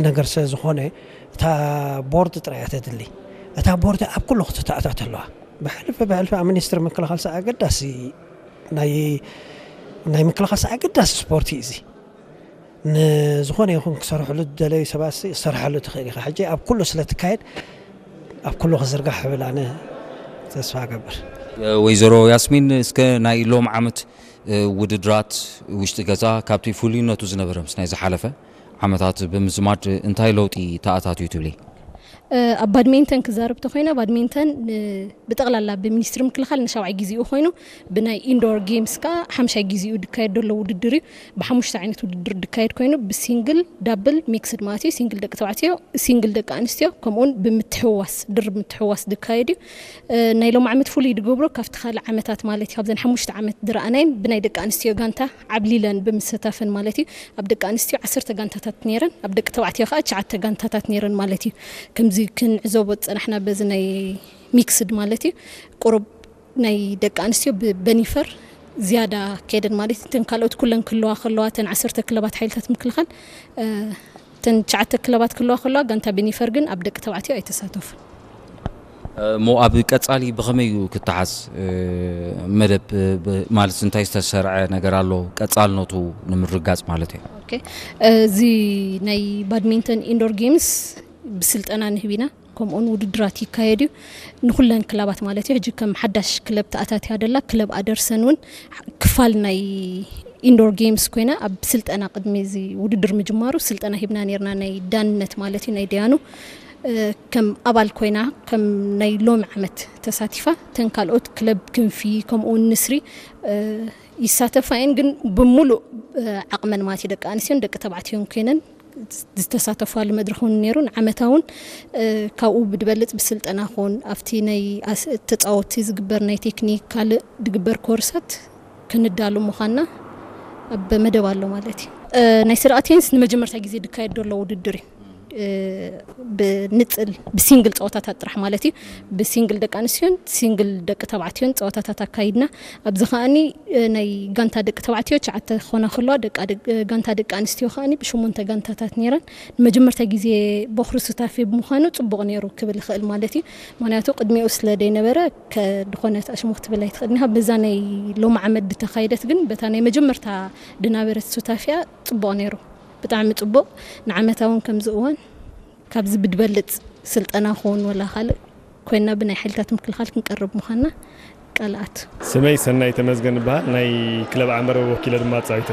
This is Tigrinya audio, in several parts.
ነገር ስለ ዝኾነ እታ ቦርድ ጥራይ እያ ተድሊ። እታ ቦርድ ኣብ ኩሉ ክትተኣታት ኣለዋ። ብሕልፊ ብሕልፊ ኣብ ሚኒስትሪ ምክልኻል ሰ ኣገዳሲ ናይ ናይ ምክልኻል ሰ ኣገዳሲ ስፖርት እዩ እዚ። ንዝኾነ ይኹን ክሰርሕሉ ዝደለዩ ሰባት ሲ ክሰርሓሉ ትኽእል ኢኻ። ሕጂ ኣብ ኩሉ ስለ ትካየድ ኣብ ኩሉ ክዝርጋሕ እብል ኣነ ተስፋ እገብር። ወይዘሮ ያስሚን፣ እስከ ናይ ሎም ዓመት ውድድራት ውሽጢ ገዛ ካብቲ ፍሉይነቱ ዝነበረ ምስ ናይ ዝሓለፈ ዓመታት ብምዝማድ እንታይ ለውጢ ተኣታትዩ ትብሊ? ኣብ ባድሜንተን ክዛረብ ተኮይና፣ ባድሜንተን ብጠቕላላ ብሚኒስትሪ ምክልኻል ንሻብዓይ ግዜኡ ኮይኑ፣ ብናይ ኢንዶር ጌምስ ከዓ ሓምሻይ ግዜኡ ድካየድ ዘሎ ውድድር እዩ። ብሓሙሽተ ዓይነት ውድድር ድካየድ ኮይኑ፣ ብሲንግል፣ ዳብል፣ ሚክስድ ማለት እዩ። ሲንግል ደቂ ተባዕትዮ፣ ሲንግል ደቂ ኣንስትዮ፣ ከምኡውን ብምትሕዋስ፣ ድርብ ምትሕዋስ ድካየድ እዩ። ናይ ሎም ዓመት ፍሉይ ድገብሮ ካብቲ ካልእ ዓመታት ማለት እዩ፣ ካብዘን ሓሙሽተ ዓመት ድረኣናይን ብናይ ደቂ ኣንስትዮ ጋንታ ዓብሊለን ብምስታፈን ማለት እዩ። ኣብ ደቂ ኣንስትዮ ዓሰርተ ጋንታታት ነይረን፣ ኣብ ደቂ ተባዕትዮ ከዓ ትሽዓተ ጋንታታት ነይረን ማለት እዩ። ከምዚ ክንዕዘቦ ዝጸናሕና በዚ ናይ ሚክስድ ማለት እዩ፣ ቁሩብ ናይ ደቂ ኣንስትዮ ብበኒፈር ዝያዳ ከይደን ማለት እዩ። እተን ካልኦት ኩለን ክህልዋ ከለዋ፣ እተን ዓሰርተ ክለባት ሓይልታት ምክልኻል፣ እተን ትሽዓተ ክለባት ክህልዋ ከለዋ፣ ጋንታ በኒፈር ግን ኣብ ደቂ ተባዕትዮ ኣይተሳተፉን። እሞ ኣብ ቀጻሊ ብኸመይ እዩ ክተሓዝ? መደብ ማለት እንታይ ዝተሰርዐ ነገር ኣሎ? ቀጻልነቱ ንምርጋጽ ማለት እዩ። ኦኬ፣ እዚ ናይ ባድሚንተን ኢንዶር ጌምስ ብስልጠና ንህብ ኢና፣ ከምኡውን ውድድራት ይካየድ እዩ ንኩለን ክለባት ማለት እዩ። ሕጂ ከም ሓዳሽ ክለብ ተኣታትያ ደላ ክለብ ኣደርሰን እውን ክፋል ናይ ኢንዶር ጌምስ ኮይና ኣብ ስልጠና ቅድሚ እዚ ውድድር ምጅማሩ ስልጠና ሂብና ነርና፣ ናይ ዳንነት ማለት እዩ፣ ናይ ደያኑ ከም ኣባል ኮይና ከም ናይ ሎሚ ዓመት ተሳቲፋ። ተን ካልኦት ክለብ ክንፊ ከምኡውን ንስሪ ይሳተፋ እየን፣ ግን ብምሉእ ዓቕመን ማለት እዩ፣ ደቂ ኣንስትዮን ደቂ ተባዕትዮን ኮይነን ዝተሳተፋሉ መድረኽ እውን ነይሩ። ንዓመታ እውን ካብኡ ብድበልፅ ብስልጠና ኾን ኣብቲ ናይ ተፃወቲ ዝግበር ናይ ቴክኒክ ካልእ ድግበር ኮርሳት ክንዳሉ ምዃንና ኣብ መደብ ኣሎ ማለት እዩ። ናይ ስርዓት ቴኒስ ንመጀመርታ ግዜ ድካየድ ዘሎ ውድድር እዩ። ብንፅል ብሲንግል ፀወታታት ጥራሕ ማለት እዩ። ብሲንግል ደቂ ኣንስትዮን ሲንግል ደቂ ተባዕትዮን ፀወታታት ኣካይድና። ኣብዚ ከዓኒ ናይ ጋንታ ደቂ ተባዕትዮ ትሽዓተ ክኾና ከለዋ፣ ጋንታ ደቂ ኣንስትዮ ከዓኒ ብሽሞንተ ጋንታታት ነይረን። ንመጀመርታ ግዜ ቦኽሪ ሱታፌ ብምዃኑ ፅቡቕ ነይሩ ክብል ይኽእል ማለት እዩ። ምክንያቱ ቅድሚኡ ስለ ደይነበረ ከድኾነት ኣሽሙ ክትብል ኣይትኽእልን ኢኻ። በዛ ናይ ሎሚ ዓመት ድተኻይደት ግን በታ ናይ መጀመርታ ድናበረት ሱታፊያ ፅቡቕ ነይሩ። ብጣዕሚ ጽቡቕ። ንዓመታ እውን ከምዚ እዋን ካብዚ ብድበልጽ ስልጠና ክኸውን ወላ ካልእ ኮይና ብናይ ሓይልታት ምክልኻል ክንቀርብ ምዃንና ቃልኣት። ስመይ ሰናይ ተመዝገን ይበሃል። ናይ ክለብ ዓንበርበብ ወኪለ ድማ ኣጻዊተ።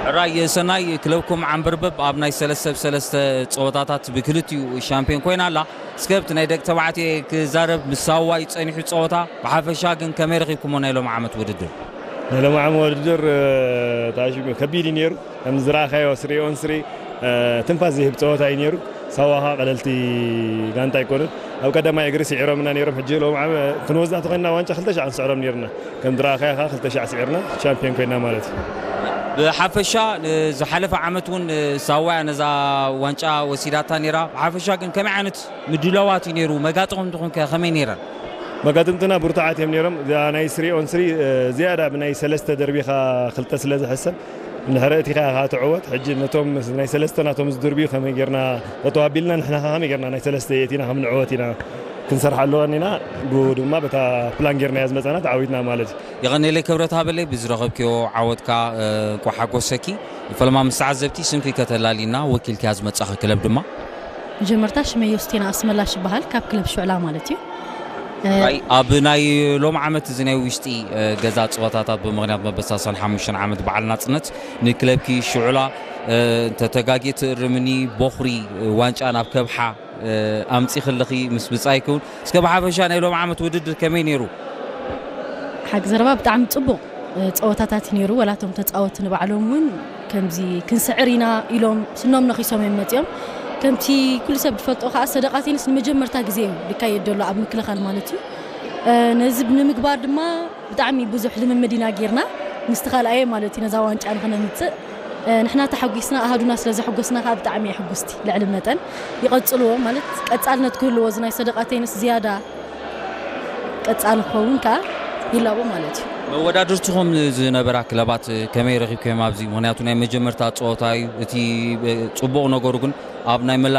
ሕራይ ሰናይ፣ ክለብኩም ዓንበርበብ ኣብ ናይ ሰለስተ ብ ሰለስተ ጸወታታት ብክልቲኡ ሻምፒዮን ኮይና ኣላ። እስከ ኣብቲ ናይ ደቂ ተባዕትዮ ክዛረብ፣ ምስ ሳዋ እዩ ጸኒሑ ጸወታ። ብሓፈሻ ግን ከመይ ረኺብኩሞ ናይ ሎም ዓመት ውድድር? ናይ ሎም ዓመት ውድድር ታሽሙ ከቢድ እዩ ነይሩ። ከም ዝረኣኻዮ ስሪ ኦን ስሪ ትንፋስ ዝህብ ፀወታ እዩ ነይሩ። ሳዋ ኸዓ ቀለልቲ ጋንታ ኣይኮኑን። ኣብ ቀዳማይ እግሪ ስዒሮምና ነይሮም። ሕጂ ሎም ዓመ ክንወስዳ ተኾይንና ዋንጫ ክልተ ሻዕ ንስዕሮም ነይርና። ከም ዝረኣኻዮ ኸዓ ክልተ ሻዕ ስዒርና ሻምፒዮን ኮይና ማለት እዩ። ብሓፈሻ ዝሓለፈ ዓመት እውን ሳዋ እያ ነዛ ዋንጫ ወሲዳታ ነይራ። ብሓፈሻ ግን ከመይ ዓይነት ምድላዋት እዩ ነይሩ? መጋጥኹም ትኾንከ ከመይ ነይረን? መጋጥምትና ብርቱዓት እዮም ነይሮም። እዚኣ ናይ ስሪ ኦን ስሪ ዝያዳ ብናይ ሰለስተ ደርቢኻ ክልተ ስለ ዝሕሰብ እንድሕር እቲ ኢኻ ኢኻ ትዕወት። ሕጂ ነቶም ናይ ሰለስተ ናቶም ዝድርብዩ ከመይ ጌርና ጠጠው ኣቢልና ንሕና ከ ከመይ ጌርና ናይ ሰለስተ የእቲና ከም ንዕወት ኢና ክንሰርሓ ኣለዋን ኢና። ብኡ ድማ በታ ፕላን ጌርናያ ዝመጻና ተዓዊትና ማለት እዩ። የቐኔለይ ክብረት ሃበለይ ብዝረኸብክዮ ዓወትካ እንኳ ሓጎሰኪ። ፈለማ ምስ ተዓዘብቲ ስምኪ ከተላሊና ወኪልክያ ዝመጻኺ ክለብ ድማ። መጀመርታ ሽመይ ዮስቴና ኣስመላሽ ይበሃል፣ ካብ ክለብ ሽዕላ ማለት እዩ። ራይ ኣብ ናይ ሎም ዓመት እዚ ናይ ውሽጢ ገዛ ፀወታታት ብምኽንያት መበሳሰን ሓሙሽተ ዓመት በዓል ናፅነት ንክለብኪ ሽዑላ እንተተጋጌ ትእርምኒ ቦኽሪ ዋንጫ ናብ ከብሓ ኣምፂ ክልኺ ምስ ብፃይ ክውን እስከ ብሓፈሻ ናይ ሎም ዓመት ውድድር ከመይ ነይሩ? ሓቂ ዘረባ ብጣዕሚ ፅቡቕ ፀወታታት ነይሩ። ወላቶም ተፃወቲ ንባዕሎም እውን ከምዚ ክንስዕር ኢና ኢሎም ስኖም ነኺሶም እዮም መፂኦም። ከምቲ ኩሉ ሰብ ዝፈልጦ ከዓ ሰደቃ ቴኒስ ንመጀመርታ ግዜ እዩ ዝካየድ ዘሎ ኣብ ምክልኻል ማለት እዩ። ነዚ ንምግባር ድማ ብጣዕሚ ብዙሕ ልምምድ ኢና ጌርና። ምስቲ ካልኣየ ማለት እዩ ነዛ ዋንጫ ንኽነምፅእ ንሕና ተሓጒስና ኣሃዱና ስለ ዘሐጎስና ከዓ ብጣዕሚ እየ ሕጉስቲ ልዕሊ መጠን። ይቐፅልዎ ማለት ቀፃልነት ክህልዎ እዚ ናይ ሰደቃ ቴኒስ ዝያዳ ቀፃሊ ክኸውን ከዓ ይላቦ ማለት እዩ። መወዳድርትኹም ዝነበራ ክለባት ከመይ ረኺብክዮም ኣብዚ? ምኽንያቱ ናይ መጀመርታ ፀወታ እዩ። እቲ ፅቡቕ ነገሩ ግን ኣብ ናይ መላ